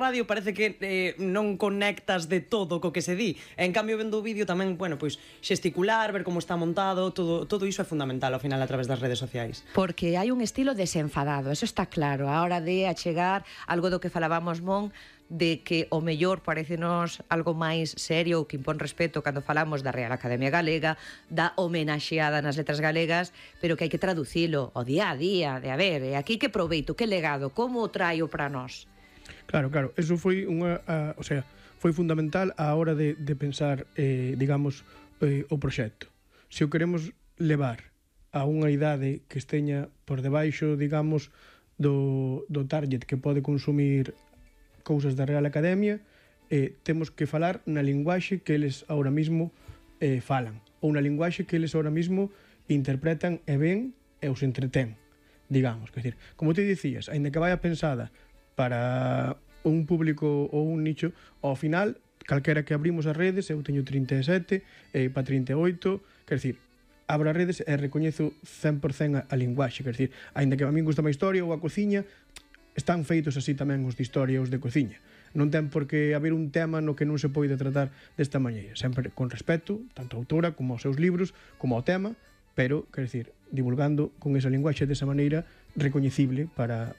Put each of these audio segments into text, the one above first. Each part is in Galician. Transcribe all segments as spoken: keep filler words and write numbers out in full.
radio parece que eh, non conectas de todo co que se di. En cambio, vendo o vídeo tamén, bueno, pois xesticular, ver como está montado, todo todo iso é fundamental ao final a través das redes sociais. Porque hai un estilo desenfadado, eso está claro, a hora de achegar algo do que falábamos, Mon, de que o mellor parecenos algo máis serio ou que impón respeto cando falamos da Real Academia Galega, da homenaxeada nas letras galegas, pero que hai que traducilo ao día a día, de a ver, e aquí que proveito, que legado, como o traio para nós? Claro, claro, eso foi unha, a, o sea, foi fundamental á hora de, de pensar, eh, digamos, eh, o proxecto. Se o queremos levar a unha idade que esteña por debaixo, digamos, do, do target que pode consumir cousas da Real Academia, eh, temos que falar na linguaxe que eles ahora mismo eh, falan, ou na linguaxe que eles ahora mismo interpretan e ven e os entretén, digamos. Quer dizer, como te dicías, aínda que vaya pensada para un público ou un nicho, ao final, calquera que abrimos as redes, eu teño trinta e sete, e para trinta e oito, quer dizer, abro as redes e recoñezo cen por cen a, a linguaxe, quer dizer, aínda que a min gusta máis historia ou a cociña, están feitos así tamén os de historia e os de cociña. Non ten por que haber un tema no que non se poida tratar desta maneira, sempre con respeto, tanto a autora como aos seus libros, como ao tema, pero, quer dizer, divulgando con esa linguaxe desa maneira recoñecible para...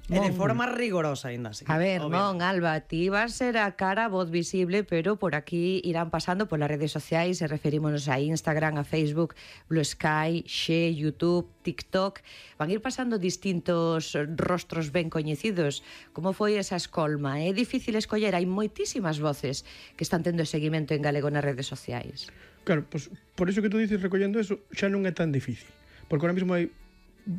E de forma rigorosa, ainda así. A ver, non, Alba, ti vas ser a cara, a voz visible, pero por aquí irán pasando polas redes sociais, e referímonos a Instagram, a Facebook, Blue Sky, Xe, YouTube, TikTok. Van ir pasando distintos rostros ben coñecidos. Como foi esa escolma? É difícil escoller, hai moitísimas voces que están tendo seguimento en galego nas redes sociais. Claro, pues, por iso que tú dices, recollendo eso, xa non é tan difícil. Porque ahora mismo hai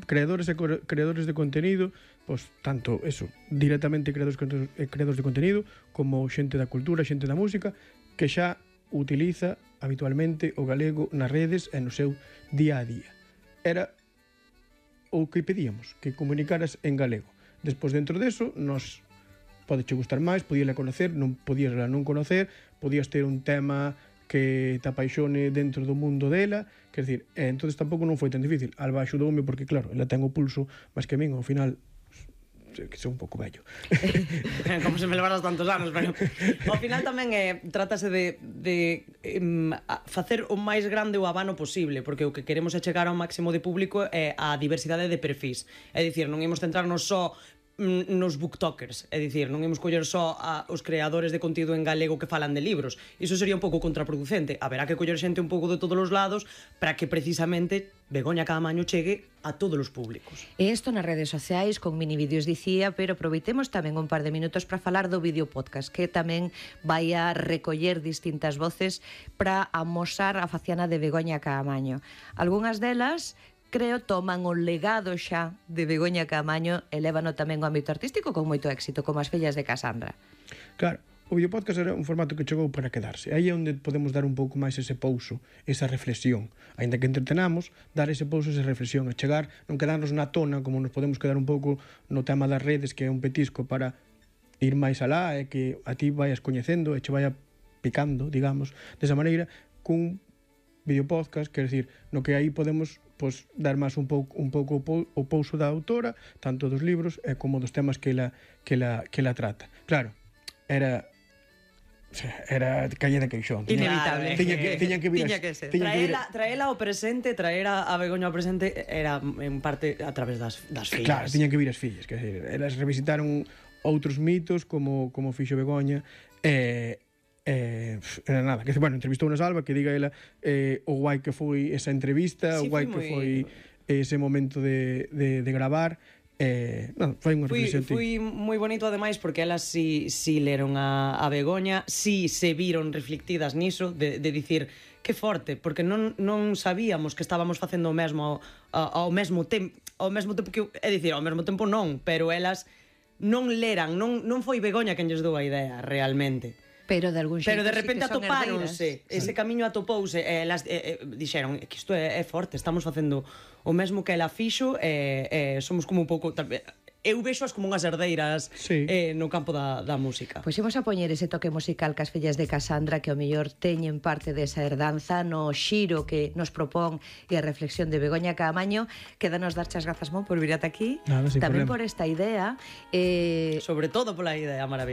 creadores e creadores de contenido, pois tanto eso, directamente creadores e creadores de contenido, como xente da cultura, xente da música, que xa utiliza habitualmente o galego nas redes e no seu día a día. Era o que pedíamos, que comunicaras en galego. Despois, dentro deso, nos pode che gustar máis, podíala conocer, non podías non conocer, podías ter un tema que te apaixone dentro do mundo dela, quer dizer, e entonces tampouco non foi tan difícil. Alba axudoume porque, claro, ela ten o pulso máis que a min, ao final que sou un pouco vello. Como se me levaras tantos anos, pero ao final tamén é, trátase de, de um, facer o máis grande o abano posible, porque o que queremos é chegar ao máximo de público é a diversidade de perfis. É dicir, non imos centrarnos só nos booktokers, é dicir, non imos coller só a os creadores de contido en galego que falan de libros. Iso sería un pouco contraproducente. Haberá que coller xente un pouco de todos os lados para que precisamente Begoña Caamaño chegue a todos os públicos. E isto nas redes sociais con mini vídeos dicía, pero aproveitemos tamén un par de minutos para falar do vídeo podcast, que tamén vai a recoller distintas voces para amosar a faciana de Begoña Caamaño. Algúnas delas creo toman o legado xa de Begoña Caamaño e lévano tamén ao ámbito artístico con moito éxito, como as fillas de Casandra. Claro, o videopodcast era un formato que chegou para quedarse. Aí é onde podemos dar un pouco máis ese pouso, esa reflexión. Ainda que entretenamos, dar ese pouso, esa reflexión, a chegar, non quedarnos na tona, como nos podemos quedar un pouco no tema das redes, que é un petisco para ir máis alá, e que a ti vayas coñecendo e che vaya picando, digamos, desa maneira, cun videopodcast, quer decir, no que aí podemos pois, dar máis un pouco un pouco o pouso da autora, tanto dos libros e como dos temas que ela que ela que ela trata. Claro, era era calle de queixón. Inevitable. Tiña que tiña que vir. Tiña que ser. Traela, traela ao presente, traela a Begoña ao presente era en parte a través das das fillas. Claro, tiñan que vir as fillas, quer dizer, elas revisitaron outros mitos como como fixo Begoña e Eh, era nada, que bueno, entrevistou a Salva, que diga ela eh, o guai que foi esa entrevista, sí, o guai que foi ese momento de, de, de gravar. Eh, non, foi unha reflexión. Foi moi bonito ademais porque elas si, si leron a, a Begoña, si se viron reflectidas niso, de, de dicir que forte, porque non, non sabíamos que estábamos facendo o mesmo ao, ao mesmo tempo, ao mesmo tempo que, é dicir, ao mesmo tempo non, pero elas non leran, non, non foi Begoña quen lles dou a idea realmente. Pero de algún xeito Pero de repente sí atopáronse, ese camiño atopouse e elas eh, eh, dixeron que isto é, é forte, estamos facendo o mesmo que ela fixo e eh, eh, somos como un pouco eu vexo as como unhas herdeiras Sí. eh, no campo da, da música. Pois imos a poñer ese toque musical cas fillas de Casandra que ao mellor teñen parte desa herdanza no xiro que nos propón e a reflexión de Begoña Caamaño. Quédanos dar as grazas, Mon, por vir ata aquí. Nada, sin Tamén problema. por esta idea. Eh, Sobre todo pola idea maravillosa.